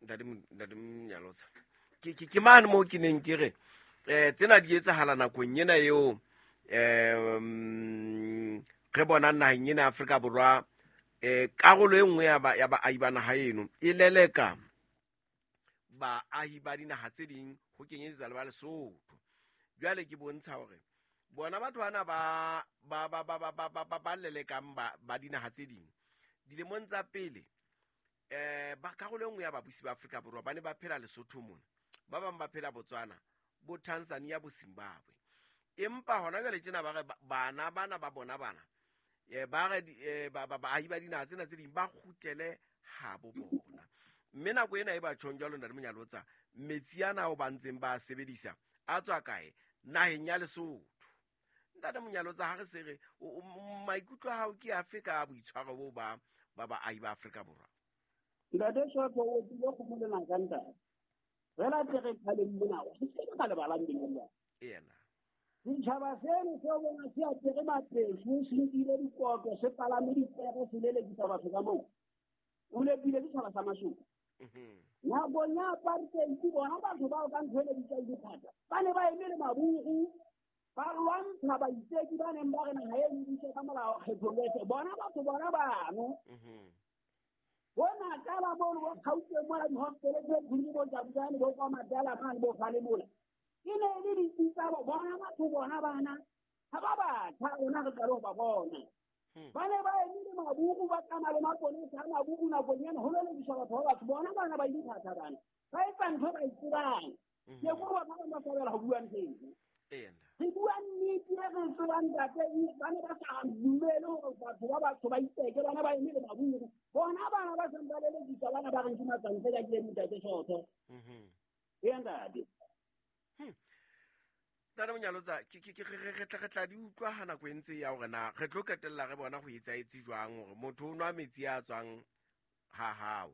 Ntate Monyalotsa, ke mane moo ke neng ke re tsena di etsahala nakong ena eo re bonang naheng ena ya Afrika Borwa, karolo e nngwe ya baahi ba naha eno e leleka baahi ba dinaha tse ding ho kenyeletsa le ba Lesotho. Jwale ke bontsha hore bona batho bana ba lelekang ba dinaha tse ding dilemong tsa pele, ba karolo e nngwe ya babusi ba Afrika Borwa ba ne ba phela Lesotho mona, ba bang ba phela Botswana, bo Tanzania, bo Zimbabwe. Empa hona jwale tjena ba re bana bana ba bona bana, ba re baahi ba dinaha tsena tse ding ba kgutlele habo bona. Mme nako ena e ba tjhong jwalo, Ntate Monyalotsa, metsi ana ao ba ntseng ba a sebedisa a tswa kae? Naheng ya Lesotho. Ntate Monyalotsa, ha re se re maikutlo a hao ke afe ka boitshwaro bo ba baahi ba Afrika Borwa? Ntate Soto, o tsile kgomo le naka, ntate. Fela tle re kgaleng mona, re se ka lebalang dinolo. Yena. Setjhaba seno se bona se apere mapeso, se nkile dikoto, se palame dipere, se lelekisa batho ka moo. O lepile setjhaba sa Masotho. Nakong ya apartheid, bona batho bao ka ntho e le bitsang dithata, ba ne ba eme le maburu, ba lwantsha baitseki ba neng ba re naha e lebise ka molao kgethollo efe. Bona batho bona bano. Bona kala mono bo Gauteng mola di-hospital tse khulu bo Jabulani bo kwa Madala mane bo Falemola. E ne e le ditsi tsa bona batho bona bana. Ha ba batjha rona re qale ho ba bona. Ba ne ba eme le maburu, ba tsamaya le maponesa a maburu nakong ena ho lelekiswa batho ba batho. Bona bana ba ile thata bana. Ba etsa ntho ba e tsebang. Ke ko ba bang ba sabela ho bua ntho eno. Re bua nnete e re tsebang, ntate, ba ne ba sa dumele hore batho ba batsho ba itseke, bana ba eme le maburu. Bona bana ba seng ba lelekiswa bana ba reng ke matswantle ka kile ntate Soto. Ee, ntate. Ntate Monyalotsa, re tla di utlwa ha nako e ntse ya hore na re tlo qetella re bona ho etsahetse jwang hore motho o nwa metsi a tswang ha hao,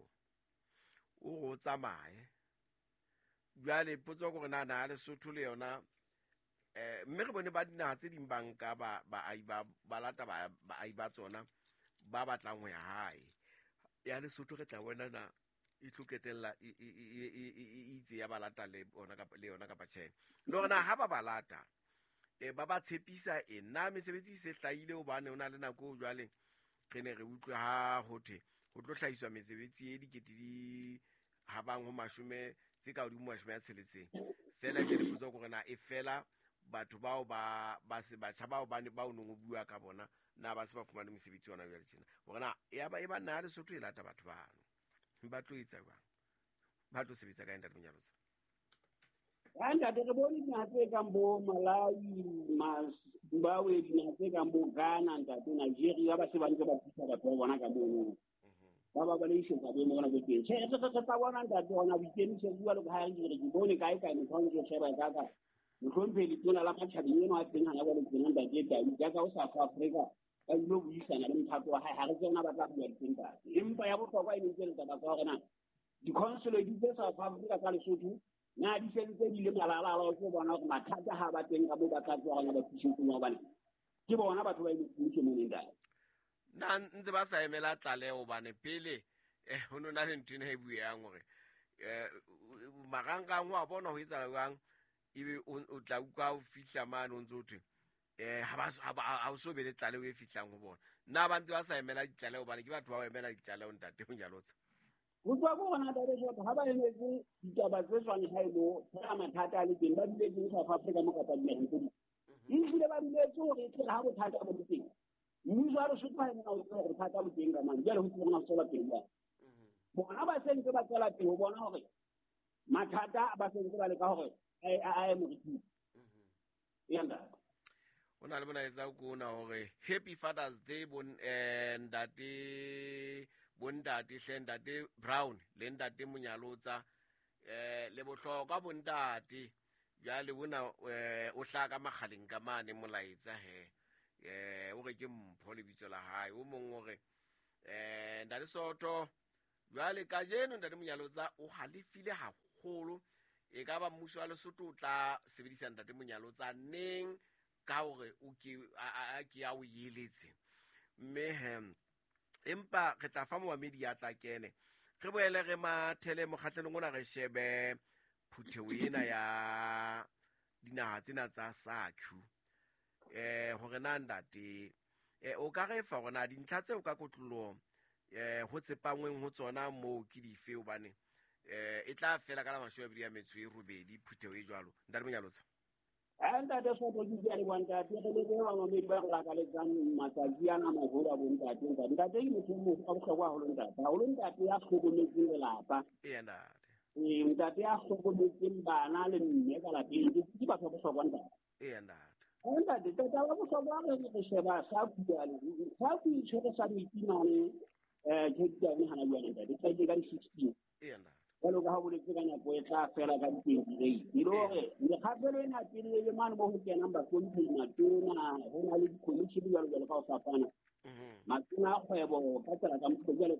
o re o tsamaye. Jwale potso ke hore na naha Lesotho le yona, mme re bone ba dinaha tse ding ba nka baahi ba lata baahi ba tsona ba batlang ho ya hae. Ya Lesotho re tla bona na e tlo qetella e itse ya ba lata le bona kapa le yona kapa tjhe. Le hore na ha ba ba lata, ba ba tshepisa eng? Na mesebetsi e se hlahile? Hobane ho na le nako eo jwale re ne re utlwe ha ho thwe ho tlo hlahiswa mesebetsi e dikete di habang ho mashome tse ka hodimo 60. Feela ke le potso hore na e fela batho bao ba se batjha bao ba ne ba o nong o bua ka bona, na ba se ba fumane mosebetsi ona jwale tjena? Hore na ya ba e ba naha Lesotho e lata batho bano, ba tlo etsa jwang? Ba tlo sebetsa kae, Ntate Monyalotsa? Ha ntate, re bone dinaha tse kang bo Malawi, Zimbabwe, dinaha tse kang bo Ghana, ntate, Nigeria, ba se ba ntse ba thusa batho ba bona ka mono. Ba le isetsa boemo bona bo teng. Tjhe, re tla bona, ntate, hona boikemisetso jwalo ka ha re ke bone kae kae motho a ntso sheba ka ka. Mohlomphehi letona la matjhabeng eno a teng hana jwale tjena, ntate Tau, jaaka o South Africa ba ilo buisana le mophato wa hae, ha re tsena ba tla bua diteng, ntate. Empa ya bohlokwa e ne ntse le taba tsa hore na di-consulate tse South Africa tsa Lesotho na di sentse di le malala ke bona hore mathata ha ba teng ka moo ba tla tsoa hona ba thusetse, hobane ke bona batho ba emetse mmuso mona, ntate. Na ntse ba sa emela tlaleho? Hobane pele ho no na le ntho ena e bueang hore marangrang wa bona ho etsahala jwang, ebe o tla utlwa o fihla mane o ntse o thwe ha o so be le tlaleho e fihlang ho bona. Na ba ntse ba sa emela ditlaleho? Hobane ke batho ba ho emela ditlaleho, Ntate Monyalotsa. Ho tswa ko rona, ntate Soto, ha ba emetse ditaba tse tswang hae mo fela mathata a le teng, ba duletseng South Africa mo kapa dinaheng tse ding, ehlile ba duletse hore e tle ha bothata bo le teng, mmuso wa Lesotho ha e mona o tseba hore bothata bo teng ka mane. Jwale ho tsebe hona ho tswela pele jwang? Bona ba se ntse ba tswela pele ho bona hore mathata ba se ntse ba leka hore a ye moriting ya ntate. O na le molaetsa ko ona hore happy Father's Day bon ntate, bontate hle, Ntate Brown le Ntate Monyalotsa, le bohlokwa bontate. Jwale ona o hlaha ka makgaleng ka mane molaetsa he, o re ke Mpho lebitso la hae. O mong o re Ntate Soto, jwale kajeno Ntate Monyalotsa o halefile haholo, e ka ba mmuso wa Lesotho o tla sebedisa Ntate Monyalotsa neng ka hore o ke a ke a o eletse? Mme he empa re tla fa momamedi ya tla kene Re boele re mathele mokgahlelong ona, re shebe phutheho ena ya dinaha tsena tsa SACU. Hore na ntate, o ka re fa hore na dintlha tseo ka kotloloho ho tsepangweng ho tsona moo ke dife, hobane e tla fela ka la 28 phutheho e jwalo. Ntate Monyalotsa. Ntate Soto, ke a leboha ntate, re lebohe bamamedi ba re lakaletsang matsatsi ana a maholo a bontate. Ntate, ntate ke motho a bohlokwa haholo ntate, haholo ntate ya hlokometseng lelapa. Eya ntate. Ntate ya hlokometseng bana le mme ka lapeng, ke batho ba bohlokwa ntate. Eya ntate. Ntate, tata wa bohlokwa re sheba SACU jwale. SACU e tshwere summit mane Cape Town hana jwale ntate, e ka di-16. Eya ntate. Jwalo ka ha boletse ka nako e tla fela ka di-28. E le hore mekgahlelo ena pele e le mane mo ho kenang bahlomphehi matona, ho na le di-commission jwalo jwalo ka ho fapana. Matona a kgwebo ka tsela tsa mokgwa jwale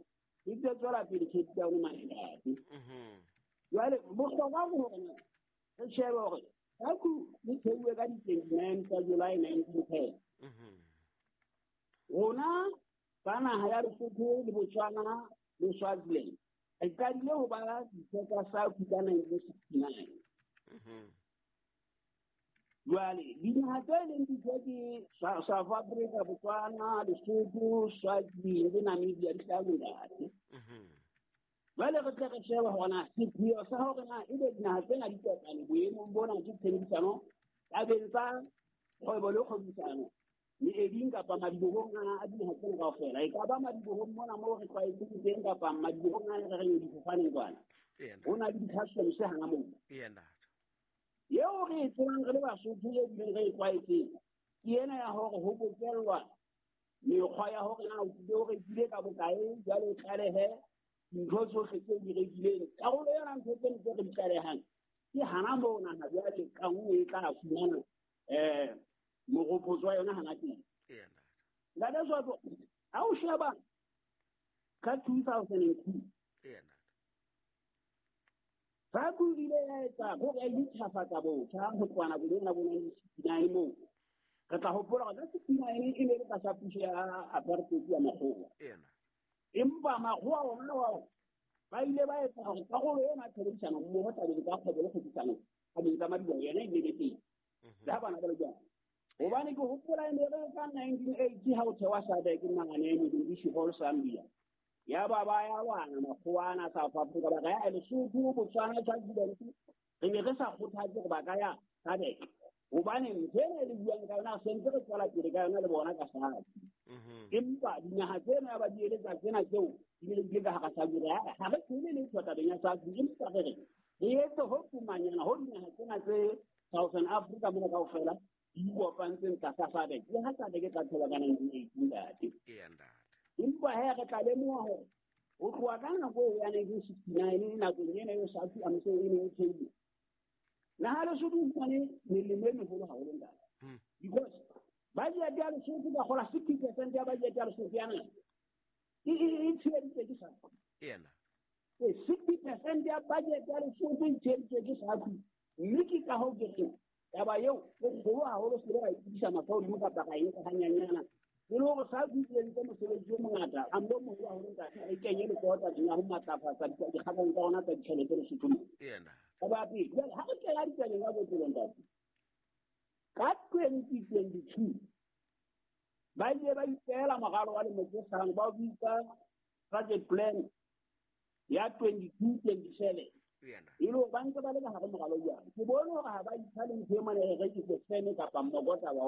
e tse tswela pele Cape Town mane ntate. Jwale bohlokwa ke hore re shebe hore SACU e theuwe ka di-29 tsa July 1910. Rona ba naha ya Lesotho le Botswana le Swaziland re qadile ho ba ditho tsa SACU ka 1969. Jwale dinaha tse leng ditho ke South Africa, Botswana, Lesotho, Swaziland le Namibia di hlano ntate. Jwale re tle re shebe hore na sepheo sa hore na ebe dinaha tsena di kopane boemong bona ke tshebedisano tabeng tsa kgwebo le kgwebisano meeding kapa madibohong a dinaha tsena kaofela. E ka ba madibohong mona moo re tlwaetseng teng kapa madibohong a re reng difofaneng kwana. Ho na le di-customs hana moo. Eo re e tsebang re le Basotho e bileng re e tlwaetseng ke ena ya hore ho bokellwa mekgwa ya hore na o tlile o rekile ka bokae, jwale o tlalehe dintho tsohle tseo di rekileng. Karolo yona ntho tseno tse re di tlalehang ke hana moo naha jwale ka nngwe e tla fumana moropotso wa yona hana teng. Ntate Soto, ha o sheba ka 2002, SACU ile ya etsa hore ya intjhafatsa botjha ho tloha nakong ena bo 1969 moo. Re tla hopola hore ka 69 e ne le tlasa puso ya apartheid ya makgowa. Empa makgowa ona ao ba ile ba etsa hore karolo ena ya tshebedisano mmoho tabeng tsa kgwebo le kgwebisano tabeng tsa madiboho yona e ne le teng. Le ha bana ba le jwang. Hobane ke hopola e ne re ka 1980 ha o thewa SADC mane Mitsubishi Hall Zambia. Ya ba ba ya lwana makgowa ana South Africa ba ka ya Lesotho, Botswana, Swaziland. Re ne re sa kgothatse hore ba ka ya SADC. Hobane ntho ena e le buang ka yona se ntse re tswela pele ka yona le bona ka SACU. Empa dinaha tsena ba di eletsa tsena tseo di ne di le ka hara SACU. Ha re tsebe letho tabeng ya SACU, empa re re re etse ho fumanyana ho dinaha tsena tse Southern Africa mona kaofela di kopantseng tlasa SADC. Le ha SADC e tla thola ka 1918 ntate. Empa he re tla lemoha hore ho tloha ka nako eo ya 1969 nakong ena eo SACU amse e neng e theilwe, naha Lesotho o fumane melemo e meholo haholo ntate. Because budget ya Lesotho ka kgola 60% ya budget ya Lesotho ya naha e tsheheditswe ke SACU. 60% ya budget ya Lesotho e tsheheditswe ke SACU. Mme ke ka hoo ke reng taba eo e kgolo haholo, se re ra itsebisa mahlo hodimo kapa ra e nka hanyanyana. E le hore SACU e entse mosebetsi o mongata, a mbo moholo haholo ntate, re kenye letsoho tabeng ya ho matlafatsa dikgakang tsa rona tsa ditjhelete Lesotho mona. Taba ya pele, jwale ha re kena ditabeng ka botlolo ntate, ka 2022 ba ile ba ipeela moralo wa lemo tse hlano, ba o bitsa budget plan ya 22-27. E le hore ba ntse ba le ka hare moralo jwang. Ke bone hore ha ba ipha le ntho e mane re re ke sefene kapa mmokotaba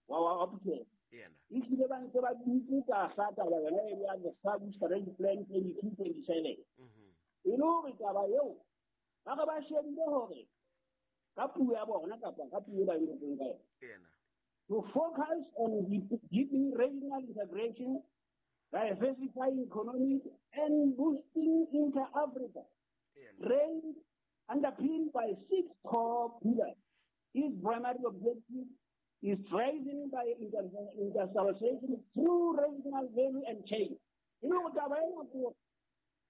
wa phutheho. Ehlile ba ntse ba dutse tlasa taba yona e ya the SACU strategy plan 22-27. E le hore taba eo ba re ba shebile hore ka puo ya bona kapa ka puo e ba e ngotseng ka yona, to focus on deepening regional integration, diversifying economies and boosting inter-Africa trade underpinned by 6 core pillars. Its primary objective is driven by industrialization through regional value and chain. E le hore taba ena ke hore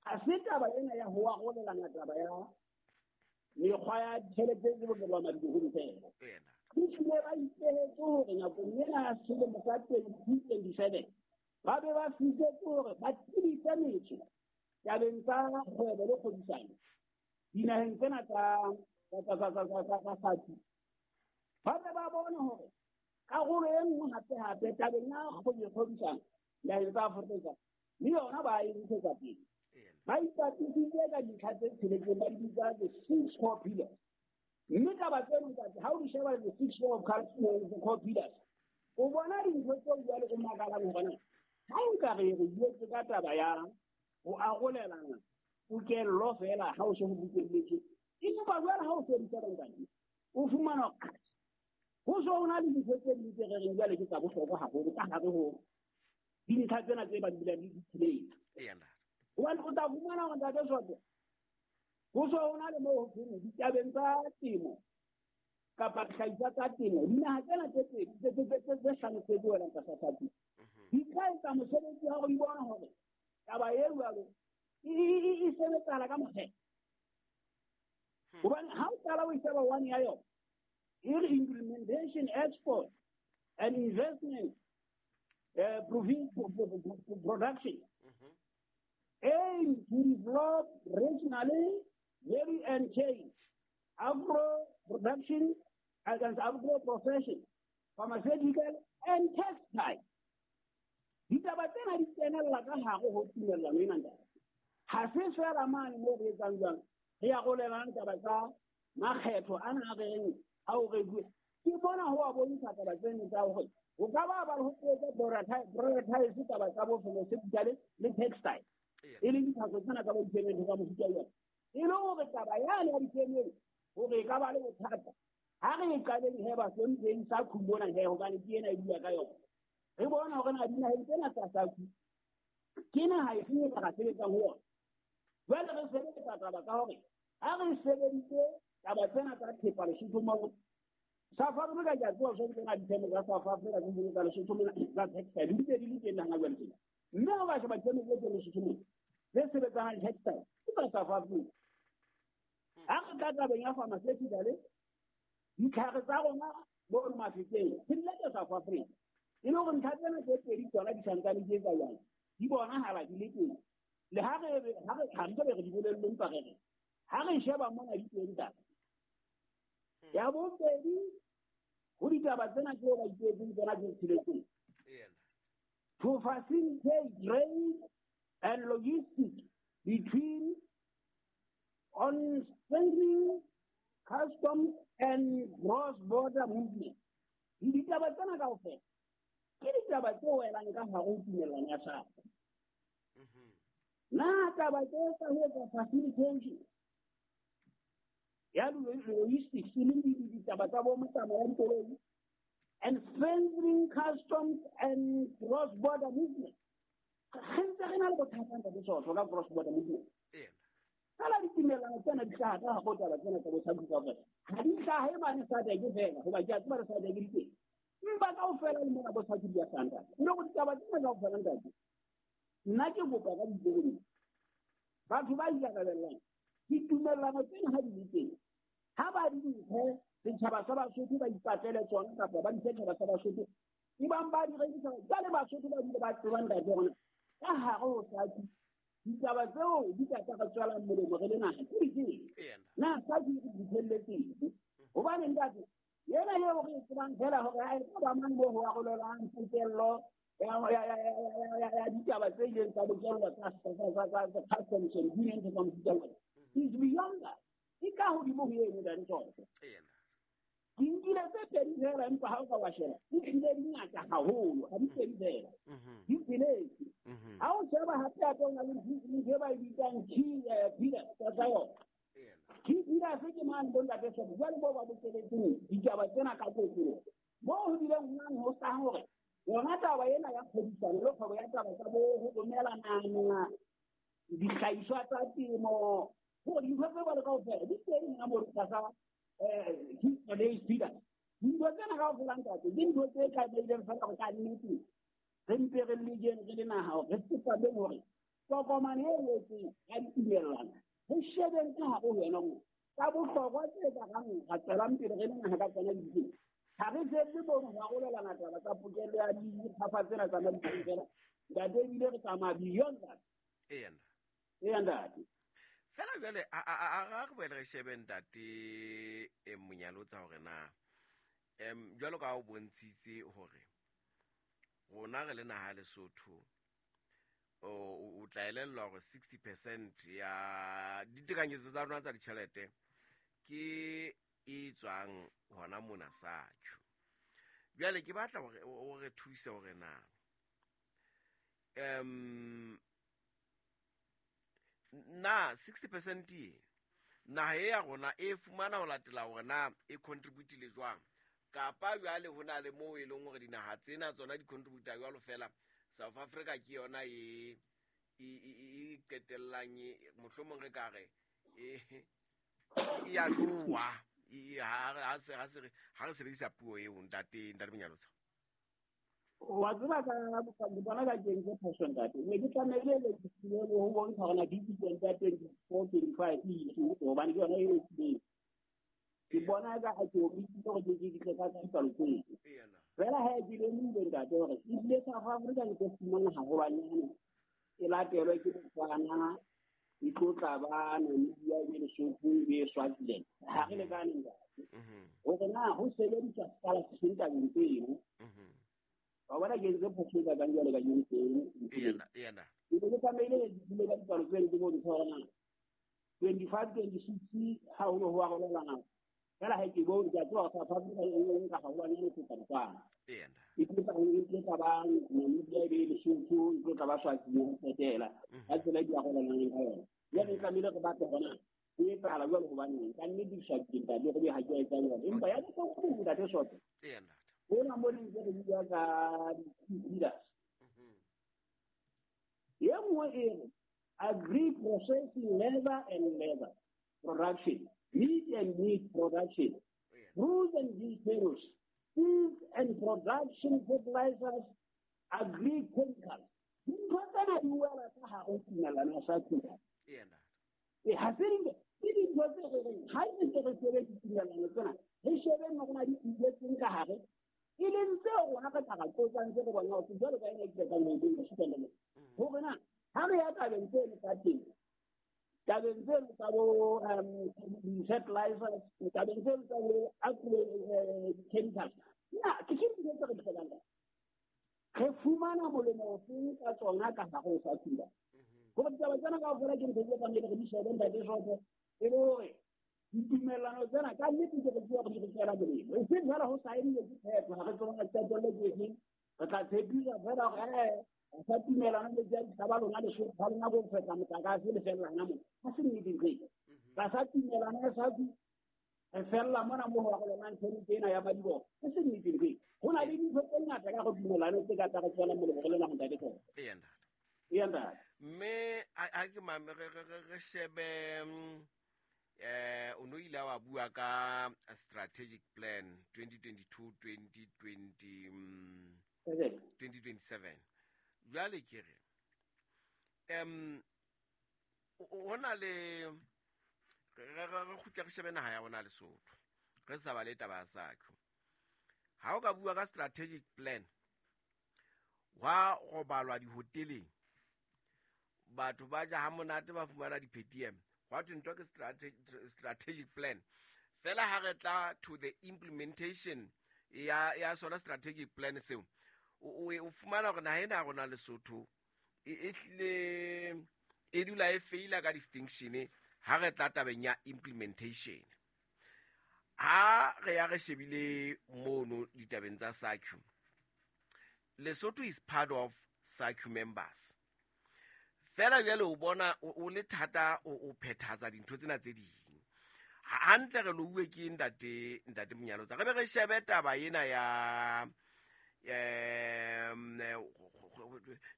ha se taba ena ya ho arolelana taba ya mekgwa ya ditjhelete tse bokellwa madibohong fela. Ehlile ba ipehetse hore nakong ena ya selemo sa 2027 ba be ba fihletse hore ba tebise metso tabeng tsa kgwebo le kgwebisano dinaheng tsena tsa SACU, ba be ba bone hore karolo e nngwe hape-hape tabeng ya kgwebisano naheng tsa Afrika le yona ba e ntshetsa pele. Ba ipatisitse ka dintlha tse tsheletseng ba di bitsa the 6 core pillars. Mme taba tseno ntate, ha o di sheba the 6 core pillars, o bona dintho tseo jwale o makalang hore na ha nka re re buetse ka taba ya ho arolelana pokello fela ha o se ho bokelletswe, empa jwale ha o se di sheba ntate, o fumana ho so ho na le dintho tse ding tse re reng jwale ke tsa bohlokwa haholo ka hare ho dintlha tsena tse ba di bulang di tsheletse. Hobane o tla fumana hore ntate Soto, ho so ho na le moo ho thweng ditabeng tsa temo kapa dihlahiswa tsa temo, dinaha tsena tse pedi tse hlano tse welang tlasa SACU di tla etsa mosebetsi wa hore di bone hore taba e jwalo e sebetsahala ka mokgetho. Hobane ha o qala o e sheba one ya yona, e re implementation, export and investment production aim to develop regionally value and chain agro production and agro profession, pharmaceutical and textile. Ditaba tsena di kenella ka hare ho tumellano ena ntate. Ha se fela mane moo re etsang jwang, re arolelang taba tsa makgetho ana a reng ha o re ke bona ho a bontsha taba tseno tsa hore o ka ba ba ho etsa prioritize taba tsa bo pharmaceutical le textile, e leng ditlhaso tsena tsa bo difemeng tsa mofuta wa e le hore taba yane ya difemeng hore e ka ba le bothata. Ha re e qaleng he ba hlompheng SACU mona he, hobane ke ena e bua ka yona. Re bona hore na dinaheng tsena tsa SACU ke naha efeng e ka sebetsang ho yona. Jwale re sebetsa taba ka hore ha re sebeditse taba tsena tsa thepa Lesotho moo, South Africa ke a tseba so tsena difeme tsa South Africa tse ding tsa Lesotho mona tsa textile di ntse di le teng hana jwale tjena. Mme ha ba sheba difeme tse teng Lesotho mona tse sebetsanang le textile ke tsa South Africa. Ha re tla tabeng ya pharmaceutical, ditlhare tsa rona bo Mafeteng di le tsa South Africa. E le hore ntlha tsena tse pedi tsona di santsane di etsa jwang, di bonahala di le teng. Le ha re re re di bolelle empa re re ha re sheba mona di teng taba. Ya bobedi ho ditaba tsena tseo ba ipehetseng tsona tse tsheletseng. To facilitate trade and logistics between on strengthening customs and cross-border movement. Ditaba tsena kaofela ke ditaba tse welang ka hare ho tumellano ya SACU. Na taba tse tsa ho etsa facilitation ya logistics e leng ditaba tsa bo motsamao ya dikoloi and strengthening customs and cross-border movement. Re ntse re na le bothata ntate Soto ka cross-border movement. Fela ditumellano tsena di hlaha ka hare ho taba tsena tsa bo SACU kaofela. Ha di hlahe mane SADC fela, hoba ke a tseba re SADC di teng. Empa kaofela le mona bo SACU di a hlaha ntate. Mme hore ditaba tsena kaofela ntate, nna ke kopa ka ditebello batho ba ikarabellang ditumellano tsena ha di le teng, ha ba di nthe setjhaba sa Basotho ba ipatlele tsona kapa ba di setjhaba sa Basotho ebang ba di rekisa jwale Basotho ba dule ba tseba ntate hore ka hare ho SACU ditaba tseo di ka tsa re tswelang molemo re le naha ke difeng. Na SACU e re fihlelletseng? Hobane ntate yena eo re e tsebang fela hore ha e ka ba mang moo ho arolelang pokello ya ditaba tse ileng tsa bokellwa tsa customs and union tsa mofuta ona is beyond that. E ka hodimo ho eno ntate Soto. Ke nkile tse pedi fela empa ha o ka wa sheba di tlile di ngata haholo, ha di pedi fela, di tsheletse. Ha o sheba hape hape o na le ntho e ba e bitsang key pillars tsa yona. Key pillars ke mane bo ntate Soto jwale moo ba bokeletseng ditaba tsena ka kotloloho, moo ho bileng ho nang ho hlaha hore yona taba ena ya kgwebisano le kgwebo ya taba tsa bo ho romelana dihlahiswa tsa temo, hore dintho tse jwalo kaofela di teng hona moo tlasa key pillars. Dintho tsena kaofela ntate ke ntho tse tlamehileng fela hore ka nnete re mpe re lekeng re le naha hore re tsepameng hore tokomane e ngotsweng ya ditumellano re shebeng ka hare ho yona moo tsa bohlokwa tse ka rang ra tswelang pele re le naha ka tsona di. Ha re felle mono ho arolelana taba tsa pokello ya diphafa tsena tsa madi fela ntate, ebile re tsamaya beyond that. Eya ntate. Fela jwale a re boele re shebe ntate Monyalotsa hore na jwalo ka o bontshitse hore rona re le naha Lesotho o tla elellwa hore 60% ya ditekanyetso tsa rona tsa ditjhelete ke e tswang hona mona SACU. Jwale ke batla hore o re thuse hore na na 60% e naha e ya rona e fumana ho latela hore na e contributile jwang, kapa jwale ho na le moo e leng hore dinaha tsena tsona di contributa jwalo fela South Africa ke yona e qetellang mohlomong re ka re e ya jowa ha re sebedisa puo eo ntate Monyalotsa. Wa tseba ka bona ka kentse phoso ntate. Ne ke tlamehile le ho bontsha hore na dividend tsa 24-25 e hobane ke yona e tlileng. Ke bona ka ha ke omisitse hore ke tle ka dipalo tseo. Fela ha ke lemohile ntate hore ebile South Africa ke tlo fumana haholwanyane e latelwe ke Botswana, e tlo tla ba Namibia, e be Lesotho, e be Swaziland. Ha re lekane ntate. Hore na ho sebediswa sekala se seng tabeng tseno. Wa bona ke ntse phoso ka kang jwale ka teng. Ke ne ke tlamehile ke dule ka dipalo tseno ke bontshe hore na 25-26 ha ho ne ho arolelana. Fela ha ke bone ke a tseba South Africa e nka haholwanyane ho feta Botswana. E tlo tla ba Namibia, e be Lesotho, e tlo tla ba Swaziland ho qetela. Ka tsela e di arolelanang ka yona. Jwale e tlamehile re batle hore na ho etsahala jwalo hobaneng. Ka nnete ke swabile ntate re be ha ke a etsa jwalo. Empa ya bohlokwa ntate Soto. Hona mo le ntse re bua ka di-leaders. E nngwe e re agri processing leather and leather production, meat and meat production, fruits and vegetables, seeds and production fertilizers, agri chemicals. Dintho tsena di wela ka hare ho tumellano ya SACU. Ha se ke dintho tse re reng ha re ntse re shebe ditumellano tsena, re shebe hore na di tletseng ka hare, e leng tseo rona re ka ra qotsang tse re bonang hore jwalo ka ena e tla mo e supa hore na ha re ya tabeng tseno tsa temo, tabeng tseno tsa bo fertilizers, tabeng tseno tsa bo chemicals, na ke dintho tse re di hlokang. Re fumana molemo ofeng ka tsona ka hare ho SACU. Hore ditaba tsena kaofela ke ntho tse tlamehile re di shebe ntate Soto, e le hore ditumellano tsena ka nnete ke re tseba hore di re tswela molemo. E seng fela ho saenile ke phetho, ha re tsebe hore qetello ke efeng. Re tla tshepisa fela hore sa tumellano le tsa ba lona Lesotho, ha lona bo fetla motlakase le fella hona moo. Ha se nnete ntho eo. Tlasa tumellano ya SACU re fella mona mo ho arolelang tjhelete ena ya madiboho. Ha se nnete ntho eo. Ho na le dintho tse ngata ka go tumellano tse ka tla re tswela molemo re le naha ntate Soto. Eya ntate. Mme a ke mame re shebe o no ile wa bua ka strategic plan 2022 2027. Jwale ke re hona le re kgutle re shebe naha ya rona Lesotho, re sa ba le taba ya SACU. Ha o ka bua ka strategic plan wa robalwa dihoteleng, batho ba ja ha monate ba fumana di-PTM, hwa thwe ntho ke strategic plan. Fela ha re tla to the implementation ya sona strategic plan seo, o fumana hore naha ena ya rona Lesotho e hlile e dula e feila ka distinction ha re tla tabeng ya implementation. Ha re ya re shebile mono ditabeng tsa SACU, Lesotho is part of SACU members. Fela jwale o bona o le thata o phethahatsa dintho tsena tse ding. Hantle re louwe ke ntate Monyalotsa. Re be re shebe taba ena ya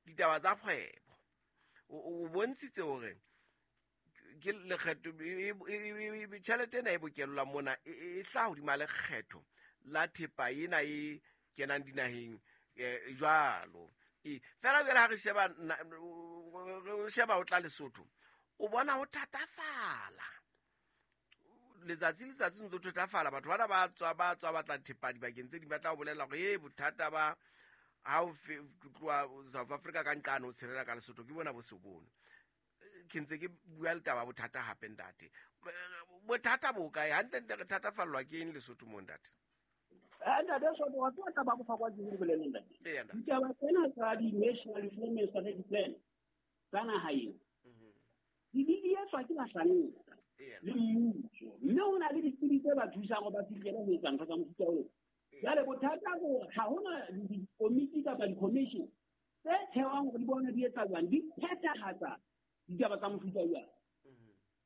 ditaba tsa kgwebo. O bontshitse hore ke lekgetho tjhelete ena e bokellwa mona e hlaha hodima lekgetho la thepa ena e kenang dinaheng jwalo. Fela jwale ha re sheba re sheba o tla Lesotho, o bona ho thatafala letsatsi letsatsi ntse ho thatafala. Batho bana ba tswa ba tla thepa dibakeng tse ding, ba tla o bolella hore bothata ba ha o tloha South Africa ka nqane o tshelela ka Lesotho ke bona bo se bone. Ke ntse ke bua le taba bothata hape ntate. Bothata bo kae? Hantlentle re thatafallwa ke eng Lesotho mo ntate? Ntate Soto, wa tseba taba ya bohlokwa ke ho boleleng ntate. Eya, ntate. Ditaba tsena tsa di-national development strategic plan tsa naha ena, di etswa ke bahlanka le mmuso, mme ho na le ditsebi tse ba thusang hore ba fihlele ho etsa ntho tsa mofuta oo. Jwale bothata ke hore ha hona dikomiti kapa di-commission tse thehwang hore di bone di etsa jwang, di phethahatsa ditaba tsa mofuta jwang.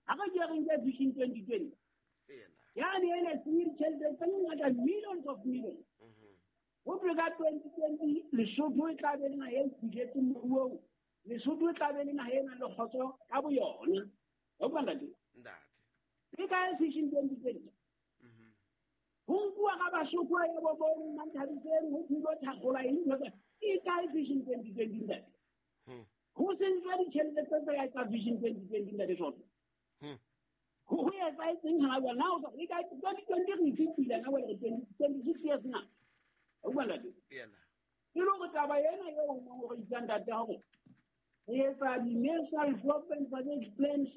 Ha re ke re nke Vision 2020, yane ene se ditjhelete tse ngata, millions of millions. Ho thwe ka 2020 Lesotho e tla be le naha e fihletseng moruong, Lesotho e tla be le naha e nang le kgotso ka boyona. Wa utlwa ntate? Ntate. E kae Vision 2020? Ho nkuwa ka Basotho ya bo bo Mmanthabiseng, ho thulwa thakgola eng ntho tsa, e kae Vision 2020 ntate? Ho se ntswa ditjhelete tse tsa ya tsa Vision 2020 ntate Soto. Ho etsahetseng hana jwale? Na o sa, e kae 2020 re e fetile na jwale re 26 years na? Wa utlwa ntate? Eya, ntate. E le hore taba ena eo o neng o re itsang ntate hore re etsa di-national development strategic plans,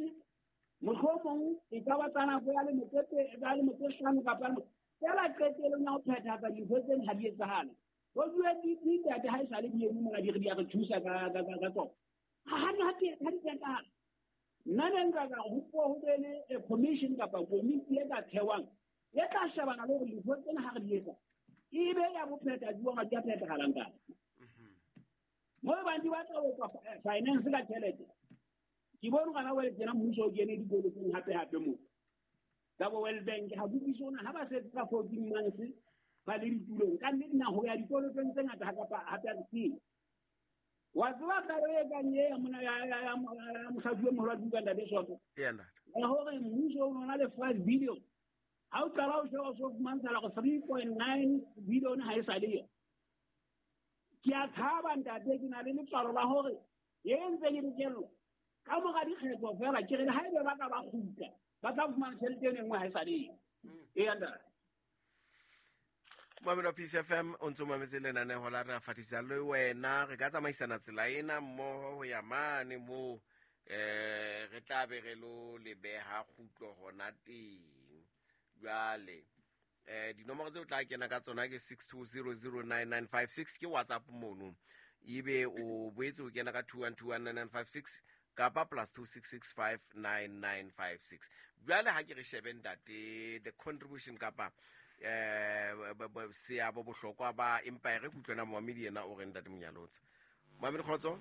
mohlomong e ka ba tsa nako ya lemo tse ya lemo tse hlano kapa lemo, feela qetellong ya ho phethahatsa dintho tseno ha di etsahale. Bo UNDP ntate ha e sale di eme mona di re di a re thusa ka tsona. Ha di, ha di, ha di phethahale. Nna ne nka ka ho puo ho be le a commission kapa komiti e ka thehwang e tla shebana le hore dintho tsena ha re di etsa e be ya bophetha jwang, ha di a phethahala ntate. Mo e bang di batla ho tswa finance ka tjhelete. Ke bone gona jwale tjena mmuso o kene dikolotong hape hape moo. Ka bo World Bank ha bokiso ona ha ba setse ka 14 months ba le ditulong. Ka nnete na ho ya dikolotong tse ngata ha kapa hape ha re tsebe. Wa tseba taba e kang e ya mona ya mosadi o moholo wa Duka ntate Soto? Eya, ntate. Ya hore mmuso o na le 5 billion. Ha o qala o sheba o so fumantshala hore 3.9 billion ha e sa le yo. Ke a tshaba ntate, ke na le letswalo la hore e ntse ke dikellwa. Ka mora dikgetho feela, ke re le haebe ba ka ba kgutla, ba tla fumana tjhelete eno e nngwe ha e sa le yo. Eya, ntate. Mamelo wa Peace FM, o ntso mametse lenaneho la Re a Fatisa le wena. Re ka tsamaisana tsela ena mmoho ho ya mane moo, re tla be re lo le beha kgutlo hona teng. Jwale, dinomoro tseo tla kena ka tsona ke 62009956, ke WhatsApp mono. Ebe o boetse o kena ka 21219956 kapa plus 26659956. Jwale ha ke re shebe ntate the contribution kapa seabo bohlokwa ba Empire, re kutlwana momamedi yena o re ntate Monyalotsa. Momamedi kgotso?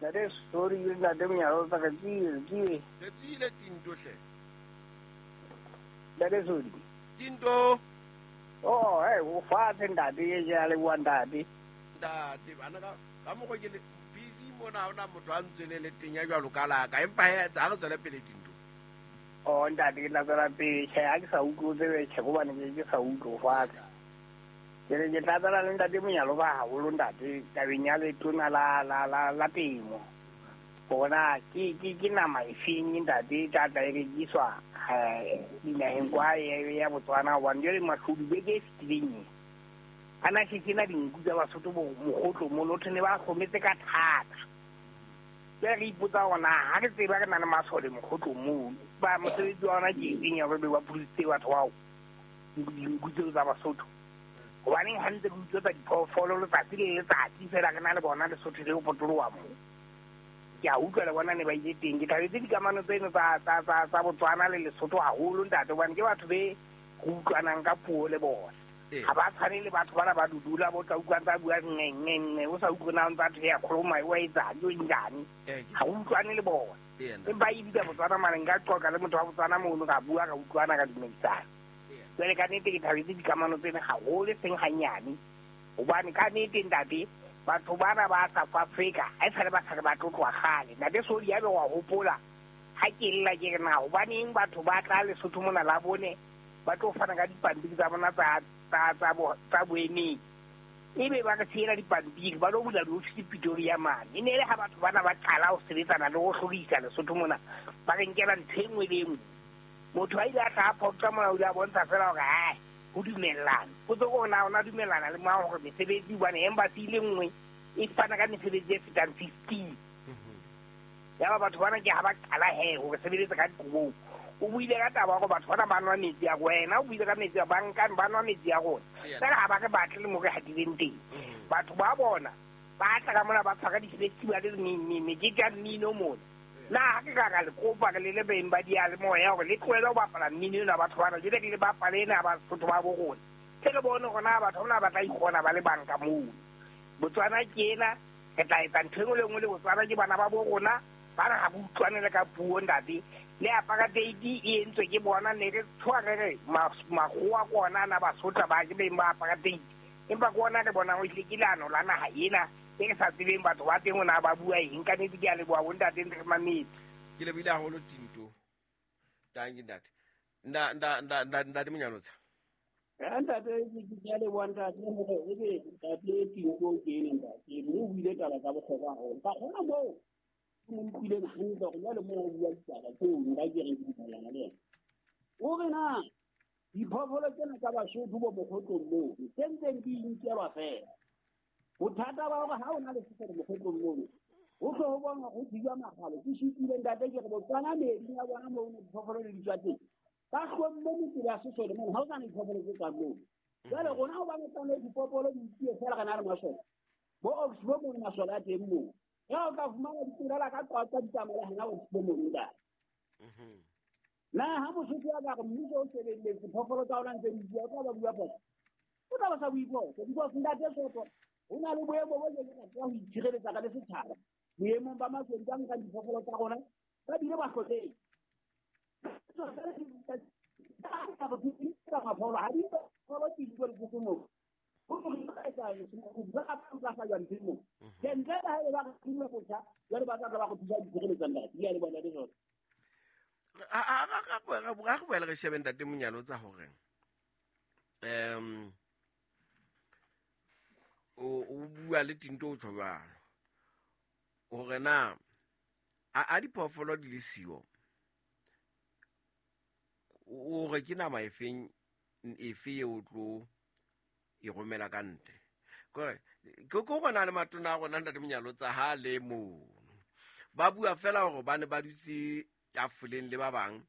Ntate sorry, ntate Monyalotsa, re tsile, re tsile. Re tsile Tinto hle. Ntate sorry. Tinto. Oh, hey, o fatshe ntate, ke a leboha ntate. Ntate, bana ka mokgwa ke le busy mona, ha hona motho a ntswelele teng ya jwalo ka la ka, empa he, ha re tswele pele Tinto. Oh, ntate, ke tla tswela pele. Tjhe, ha ke sa utlwe, o tsebe, tjhe, hobane ke sa utlwe, o fatshe. Ke re ke tla tswela le ntate Monyalo ba haholo, ntate, tabeng ya letona la temo. Hore na ke nama e feng, ntate, e tla tla e rekiswa, dinaheng kwa ya Botswana, hobane jwale mashodu beke e fetileng e. A na se kena dinku tsa Basotho bo mokgotlo mono, thwe ne ba hlometse ka thata. Jwale re ipotsa hore na ha re tseba re na le masole mokgotlong mono, ba mosebetsi wa ona ke eng ya hore be ba pholositse batho bao dinku tseo tsa Basotho? Hobaneng ha ntse re utswetsa diphoofolo letsatsi le letsatsi feela re na le bona Lesotho le ho potoloha moo? Ke a utlwa le bona ne ba ile teng. Ke thabetse dikamano tseno tsa Botswana le Lesotho haholo, ntate, hobane ke batho be re utlwanang ka puo le bona. Ha ba tshwane le batho bana ba dudula, bo tla utlwa ntse a bua nne, nne, nne, o sa utlwe na o ntse a thwe ya kgoloma, o a etsang, o njani. Ha o utlwane le bona. Empa e bitsa Botswana mane, nka qoqa le motho wa Botswana mono, ka bua, ka utlwana, ka dumedisana. Jwale ka nnete ke thabetse dikamano tsena haholo, e seng hanyane. Hobane ka nnete, ntate, batho bana ba South Africa, ha esale ba sa re ba tlotloa kgale. Ntate Sodi, ya be wa hopola, ha ke lla ke re na, hobaneng batho ba tla Lesotho mona la bone, ba tlo fana ka dipampiri tsa bona tsa boemedi. Ebe ba re siela dipampiri, ba lo bula diofisi Pretoria mane. E ne e le ha batho bana ba qala ho sebetsana le ho hlorisa Lesotho mona, ba re nkela ntho e nngwe le e nngwe. Motho a ile a tla a phoqa mona, o ile a bontsha feela hore, hai, ho dumellana. Potso ke hore na o na dumellana le mang hore mesebetsi, hobane embassy e le nngwe e fana ka mesebetsi e fetang 15. Yaba batho bana ke ha ba qala he hore sebeletsa ka dikobong. O buile ka taba hore batho bana ba nwa metsi a wena, o buile ka metsi a banka ba nwa metsi a rona. Tsela ha ba re batle le mo re hatileng teng. Batho ba bona ba tla ka mona ba tshwara di-festival mekete ya mmino mona. Nna ha ke ka ka le kopa re le le beng ba diyalemoya hore le tlohele ho bapala mmino ena batho bana, jwale ke le bapale ena Basotho ba bo rona. Tle re bone hore na batho bana ba tla ikgona ba le bang ka mono. Botswana ke ena, re tla etsa ntho e nngwe le nngwe le Botswana ke bana ba bo rona, bana ha ba utlwane le ka puo ntate. Le apartheid e entswe ke bona, ne re tshoha re re makgowa ke ona ana Basotho ba ke beng ba apartheid. Empa ke ona re bonang ho hlile ke leano la naha ena e re sa tsebeng batho ba teng hore na ba bua eng. Ka nnete ke a leboha bo ntate ntse re mametse. Ke lebohile haholo Tinto. Dankie ntate. Nda nda nda nda ntate Monyalotsa. Ntate ke a leboha ntate hore ebe ntate Tinto ke ene ntate mme o buile taba tsa bohlokwa haholo. Ka kgona moo ke mo utlwileng hantle hore jwale moo o bua ditaba tseo nka ke reng ke dumellana le yena. O re na diphoofolo tsena tsa Basotho bo mokgotlong moo tse ntseng di inkelwa feela. Bothata ba hore ha o na le sesole mokgotlong mono ho tle ho bonwa ho thijwa makgalo. Ke shitile ntate ke re Botswana meeding ya bona moo diphoofolo le di tswa teng. Ba hlomme metsela ya sesole mono ha o sana diphoofolo tse tswang moo. Jwale rona hobane tsane diphoofolo di utlwile feela re na le masole. Bo ox bo mono masole a teng moo. Ya o tla fumana ditirela ka qwaqwa di tsamaya hona ox bo mono ntate. Na ha Mosotho a ka re mmuso o shebelletse phoofolo tsa ona ntse di bua, o tla ba bua phoso. O tla ba sa bue phoso. Because ntate Soto, ho na le boemo bo ke ka tswa ho itshireletsa ka le setjhaba. Boemong ba maswedi ba nkang diphoofolo tsa rona, ba bile ba hlotletse. Ga go boela re shebe ntate Monyalotsa hore o bua le Tinto o tjho jwalo hore na a diphoofolo di le siyo o re ke nama efeng efe eo o tlo e romela ka ntle. Kore ke go na le matona a rona ntate Monyalotsa ha le mono ba bua fela hore ba ne ba dutse tafoleng le ba bang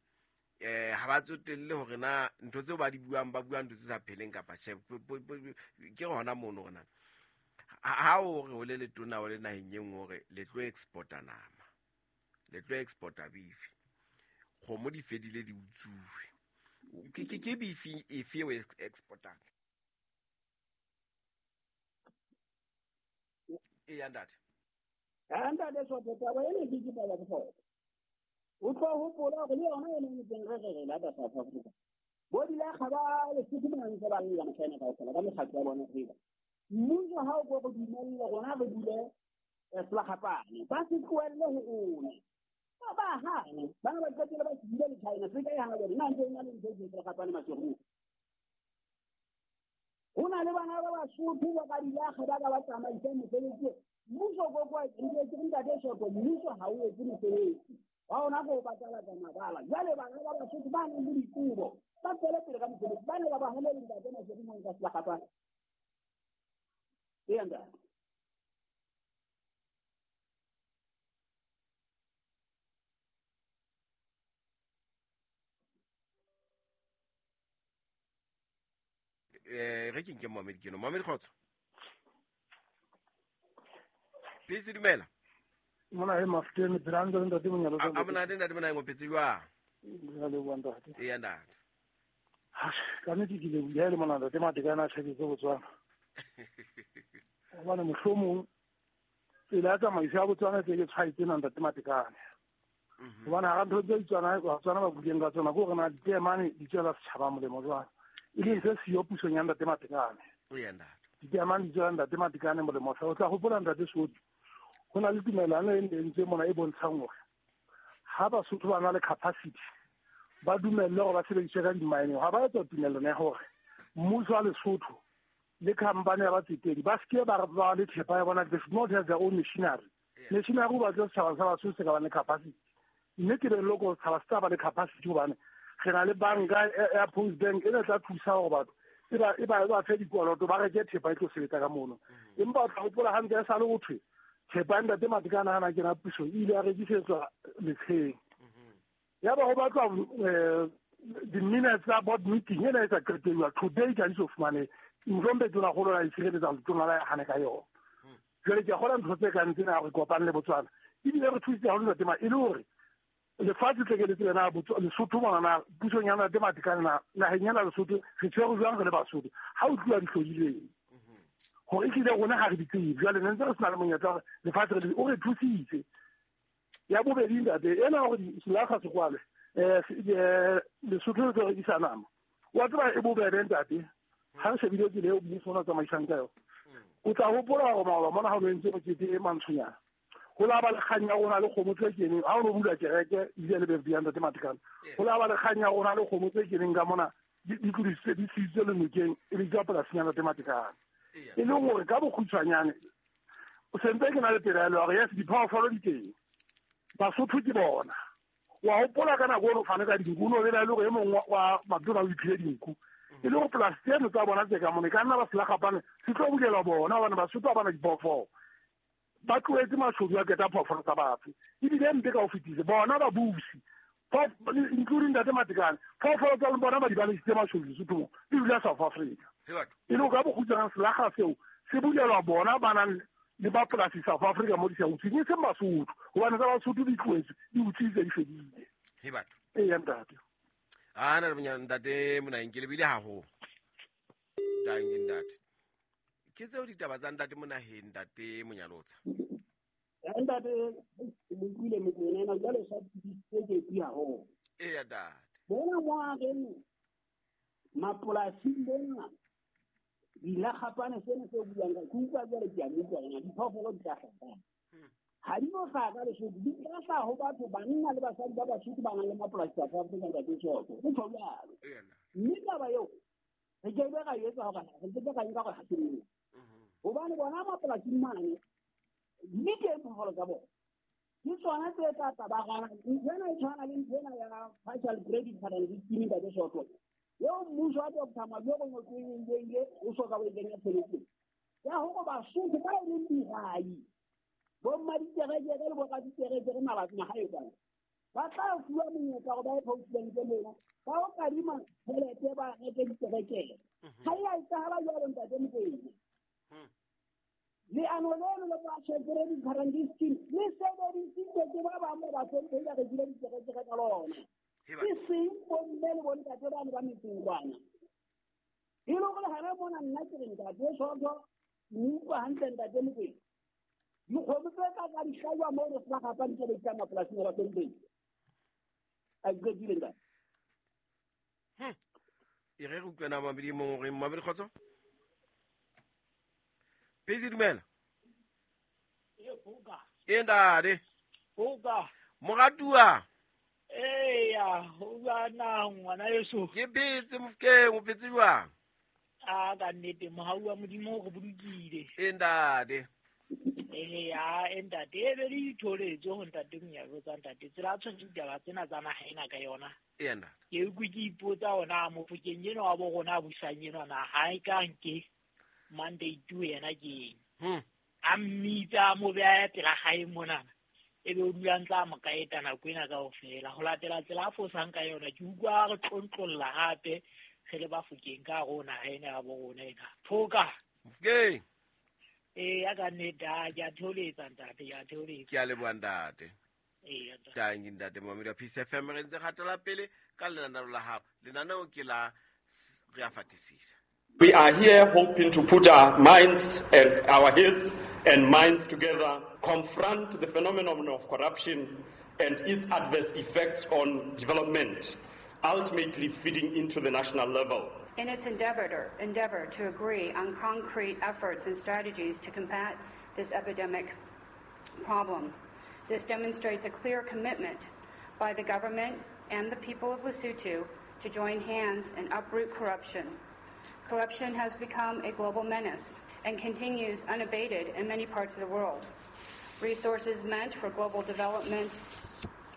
ha ba tsotelle hore na ntho tseo ba di buang ba bua ntho tse sa pheleng kapa tjhe. Ke hona mono hore na ha o re o le letona o le naheng e nngwe hore le tlo exporta nama, le tlo exporta beef, kgomo di fedile di utsuwe, ke beef efe o exportang? Eya ntate. Ntate Soto, taba ena ke taba ya bohlokwa. O tlo hopola hore le yona ena e ntseng re re lata South Africa. Bo dilakga ba Lesotho mona ntse ba lla Machina kaofela ka mekgatlo ya bona re ba. Mmuso ha o ko go dumelle rona re dule selakgapane, ba se tlohelle ho rona. Ba hane, bana ba qetelle ba se dule le China, se ka e hana bone, nna ntse e na le ntho e selakgapane Maseru. Ho na le bana ba Basotho ba ka dilakga ba ka ba tsamaisang mosebetsi. Mmuso ko kwa ke ntate Soto, mmuso ha o etse mosebetsi. Ba ona go patala tsa mabala. Jwale bana ba Basotho ba nang le dikobo, ba tswele pele ka mosebetsi, ba ne ba ba hanele ntate Maseru mo nka selakgapane. Eya ntate. Re ke nke Mohammed Keno. Mohammed kgotso. Peace dumela. Mona he Mafuteng Brando ntate Monyalotsa. A monate ntate mona ngo phetse jwang? Re leboha ntate. Eya ntate. Ka nnete ke lebohile le mona ntate Matekane a tjhaketse Botswana. Hobane mohlomong tsela ya tsamaiso ya Botswana tse ke tshwaetse na ntate Matekane. Hobane hara ntho tse Tswana Batswana ba buileng ka tsona ke hore na diteemane di tswela setjhaba molemo jwang. E leng se siyo pusong ya ntate Matekane. Eya ntate. Diteemane di tswela ntate Matekane molemo. O tla hopola ntate Soto, ho na le tumelano e entsweng mona e bontshang hore ha Basotho ba na le capacity ba dumelle hore ba sebediswe ka di-mining. Ha ba etsa tumellano ya hore mmuso wa Lesotho le company ya batsetedi ba seke ba ba le thepa ya bona, they should not have their own machinery. Machinery ba tlo setjhaba sa Basotho se ka ba le capacity. Mme ke be loko setjhaba se tla ba le capacity hobane re na le banka ya Post Bank e tla thusa hore batho e ba fe dikoloto ba reke thepa e tlo sebetsa ka mono. Empa o tla hopola hantle e sa le ho thwe Thepa ya ntate Matekane ha na kena pusong e ile ya rekisetswa letsheng. Ya ba ho batlwa di-minutes tsa board meeting ena e sa qetelwa today ka di so fumane ntlompe tona golo la itshireletsa letona la hane ka yona. Jwale ke a kgola ntho tse kang tsena re kopane le Botswana ebile re thusitse haholo ntate Ma e le hore lefatshe tle ke le tsela na Lesotho mona na pusong ya ntate Matekane na naheng ena Lesotho re tshwere jwang re le Basotho ha o tluwa dihlodileng hore ehlile rona ha re di tsebe. Jwale ne ntse re sena le monyetla hore lefatshe re o re thusitse. Ya bobedi ntate ena hore selakga se kwalwe Lesotho le tlo rekisa nama wa tseba e bobebe ntate ha re shebile tsela eo mmuso ona tsamaisang ka yona. O tla hopola hore maoba mona ha o entse mokete e mantshonyana ho la ba le kgang ya rona le kgomo tse keneng ha o no bula kereke ebile le birthday ya ntate Matekane ho la ba le kgang ya rona le kgomo tse keneng ka mona di tlodisitse di sitse le nokeng e le tswa polasing ya ntate Matekane e leng hore ka bokgutshwanyane o sentse ke na le pelaelo ya hore yes diphoofolo di teng Basotho ke bona. Wa hopola ka nako o fane ka dinku o no belaele hore e mong wa matona o iphile dinku e le hore polasi tseno tsa bona tse ka mona e ka nna ba selakgapane se tlo bulelwa bona hobane Basotho ha bana diphoofolo ba tlohetse mashodu a keta phoofolo tsa batho ebile mpe ka ho fetisa bona babusi including ntate Matekane phoofolo tsa bona ba di balesitse mashodu Lesotho mo di dula South Africa e le ka bokgutshwane selakga seo se bulelwa bona ba nang le ba polasi South Africa mo di sa utsweng e seng Basotho hobane tsa Basotho di tlohetswe di utswitse di fedile. Eya ntate. A na le ntate Monaheng ke lebile haholo. Tanki ntate. Ke tseo ditaba tsa ntate Monaheng ntate Monyalotsa. Ntate le utlwile Mokoena ena jwale sa tse ke tsi haholo. Eya ntate. Bona mo a reng mapolasing bona dilakgapane sena se buang ka ke utlwa jwale ke a utlwa yona diphoofolo di tla hlaha. Ha di no hlaha ka Lesotho di tla hlaha ho batho banna le basadi ba Basotho ba nang le mapolasi South Africa ntate Soto ho tjho jwalo. Mme taba eo re ke be ra etsa hore re ke ra nka hore ha se nnete. Hobane bona mapolasing mane di teng phoofolo tsa bona. Ke tsona tse tla tla ba gana. Ntho ena e tshwana le ntho ena ya partial credit guarantee scheme ntate Soto. Eo mmuso wa Dr. Majoro Mokoena ile o soka o kenya tshebetsong. Ya hore Basotho ba e leng dihwai bo mmaditerekere le boraditerekere mabapi magae kwana ba tla fuwa monyetla hore ba ye postbank mona ba o kadima tjhelete ba reke diterekere. Ha e a etsahala jwalo ntate Mokoena. Leano leno la partial credit guarantee scheme le sebedisitswe ke ba bang ba Basotho ba rekile diterekere ka lona. Ke seng bomme le bontate bane ba metseng kwana. E le hore hana mona nna ke re ntate Soto utlwa hantle ntate Mokoena. Dikgomo tse ka ka di hlajwa moo re selakgapane tse di tla mapolasing a Basotho. A qetile ntate. E re re utlwana mabedi mong re mabedi kgotso. Pezi dumela. E ntate. Moratuwa. Eya, o bua na ngwana yeso. Ke phetse Mofokeng, o phetse jwang? A ka nnete mohau wa Modimo o re bolokile. E ntate. Eya, e ntate e be le ditholetso ho ntate Monyalotsa ntate. Tsela a tshwere ditaba tsena tsa naha ena ka yona. Eya ntate. Ke utlwe ke ipotsa hona Mofokeng enwa wa bo rona a busang enwa na ha e ka nke mandate yena ke eng. A mmitsa a mo beha pela hae monana. Ebe o dula ntla mo kaeta nako ena kaofela ho latela tsela a fosang ka yona ke utlwa re tlontlolla hape re le Bafokeng ka rona ha ena ya bo rona ena phoka Mofokeng. Eya ka nnete ke a theoletsa ntate ke a theoletsa. Ke a leboha ntate. Eya ntate. Tanki ntate Momedi wa Peace FM re ntse kgatela pele ka lenaneo la hao. Lenaneo ke la re a fatisisa. We are here hoping to put our minds and our heads and minds together, confront the phenomenon of corruption and its adverse effects on development, ultimately feeding into the national level. In its endeavor to agree on concrete efforts and strategies to combat this epidemic problem. This demonstrates a clear commitment by the government and the people of Lesotho to join hands and uproot corruption. Corruption has become a global menace and continues unabated in many parts of the world. Resources meant for global development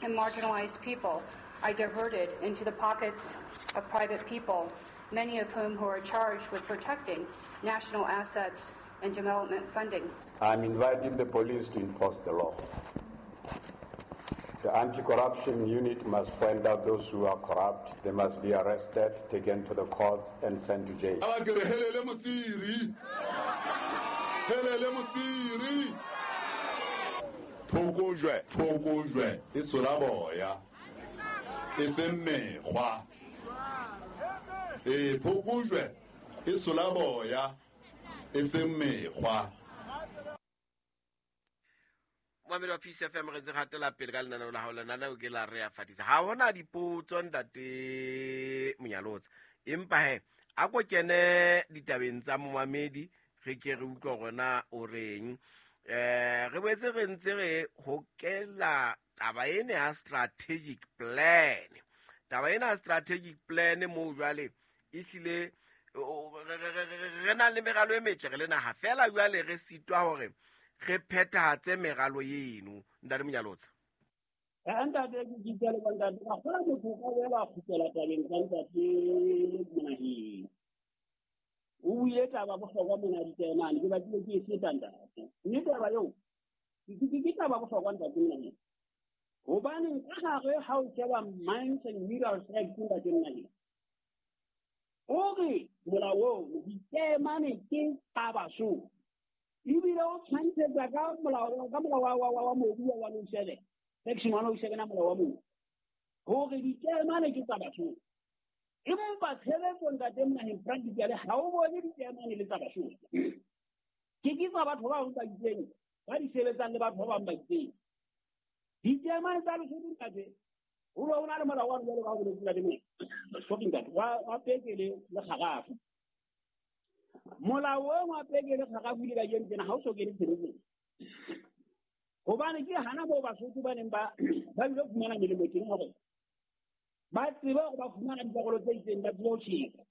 and marginalized people are diverted into the pockets of private people, many of whom who are charged with protecting national assets and development funding. I'm inviting the police to enforce the law. The anti-corruption unit must find out those who are corrupt. They must be arrested, taken to the courts, and sent to jail. Phokojwe e sola boya e seng mekgwa. E phokojwe e sola boya e seng mekgwa. Momamedi wa Peace FM, re ntse re hatela pele ka lenaneo la hao. Lenaneo ke la Re a Fadisa. Ha hona dipotso, ntate Monyalotsa, empa he a ko kene ditabeng tsa momamedi, re ke re utlwe hore na o reng. Re boetse re ntse re hokela taba ena ya strategic plan. Taba ena ya strategic plan moo jwale e hlile re na le meralo e metle re le naha, fela jwale re sitwa hore re phethahatse meralo eno. Ntate Monyalotsa. Ntate, ke itse le ntate, ka kgola motho ka boela kgutlela tabeng tsa ntate Monaheng. O buile taba bohlokwa mona ditaemane, ke batlile ke e feta ntate. Mme taba eo ke taba bohlokwa ntate Monaheng. Hobaneng ka hare ha o sheba Mines and Minerals Act ntate Monaheng, o re molao oo ditaemane ke tsa Basotho. Ebile o tshwantshetsa ka molao wa mobu wa 107, section 107 ya molao wa mobu, hore ditaemane ke tsa Basotho. Empa tshebetso ntate Monaheng practically ha o bone ditaemane le tsa Basotho. Ke tsa batho ba bang ba itseng, ba di sebetsang le batho ba bang ba itseng. Ditaemane tsa Lesotho ntate, ho no na le molao wa jwalo ka ho boletse ntate Monaheng, sorry ntate, wa peke le kgarafu. Molao o wa peke le kgarafu le kajeno tjena ha o so kene tshebetsong. Hobane ke hana moo Basotho ba neng ba bile fumana melemo teng hore ba tsebe hore ba fumana dikarolo tse itseng, ba tsebe ho tjheka.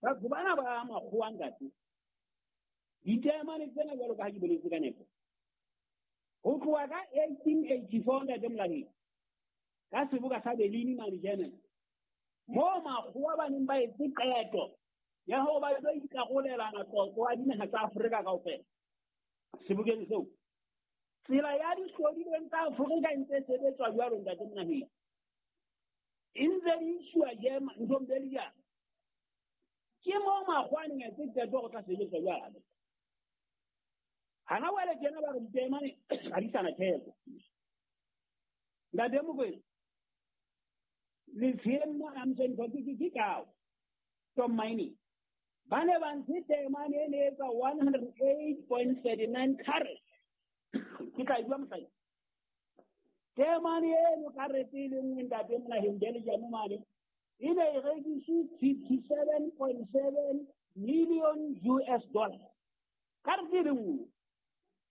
Batho bana ba makgowa ntate, ditaemane tsena jwalo ka ha ke boletse ka nepo, ho tloha ka 1884 ntate Monaheng, ka seboka sa Berlin mane Germany, moo makgowa ba neng ba etse qeto ya hore ba tlo ikarolelana tlotlo a dinaha tsa Afrika kaofela. Sebokeng seo, tsela ya dihlodilweng tsa Afrika e ntse e sebetswa jwalo ntate Monaheng, e ntse di iswa nthong Belgium. Ke moo makgowa a neng a etse qeto hore tla sebetswa jwalo. Hana jwale tjena ba re ditaemane ha di sa na theko. Ntate Mokoena, letsheng mo Amseng ke kao Tom Mining, ba ne ba ntshe taemane e ne etsa 108.39 carats. Ke tla e bua mosadi. Taemane eno karete e le nngwe ntate Monaheng Belgium mane, e ne e rekiswe 57.7 million US dollars. Karete e le nngwe.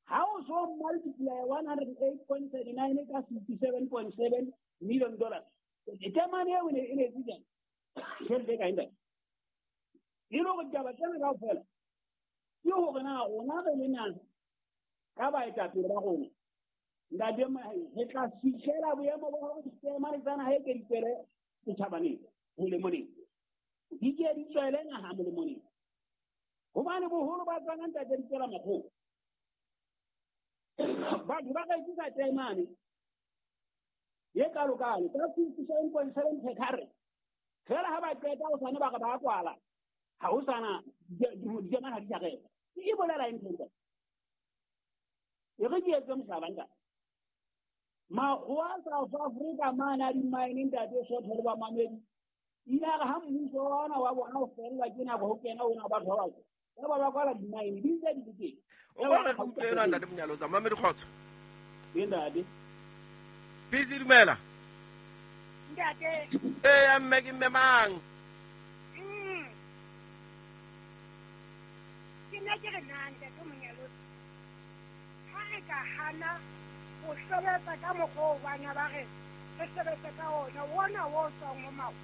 Ha o so multiply 108.39 ka 57.7 million dollars, taemane eo e ne e etse jang? Tjhelete e kae ntate? E le hore ditaba tsena kaofela ke hore na rona re le naha ka baetapele ba rona ntate Monaheng, re tla fihlela boemo ba hore ditaemane tsa naha e ke di tswele setjhabaneng molemoneng, di ke di tswele naha molemoneng. Hobane boholo ba tsona ntate di tswela makgowa. Batho ba ka etsisa taemane ye kalokalo ka 57.7 carat, fela ha ba qeta ho sane ba re ba kwala, ha ho sana ditaemane ha di sa reka. E bolela eng ntate? E re ke etse mohlala ntate. Makgowa South Africa mane a di-mine ntate Sotho le bamamedi, ile a re ha mmuso wa ona wa bona o fellwa ke nako ho kena ona batho ba batsho, ya ba kwala di-mine di ntse di le teng. O ka re utlwe ena ntate Monyalotsa. Mamedi kgotso. Ee ntate. Busy dumela. Ntate. Ee mme ke mme mang? Ke nna ke re na ntate Monyalotsa, ha re ka hana ho sebetsa ka mokgwa oo bana ba re re sebetse ka ona, ona o tswang ho makgowa.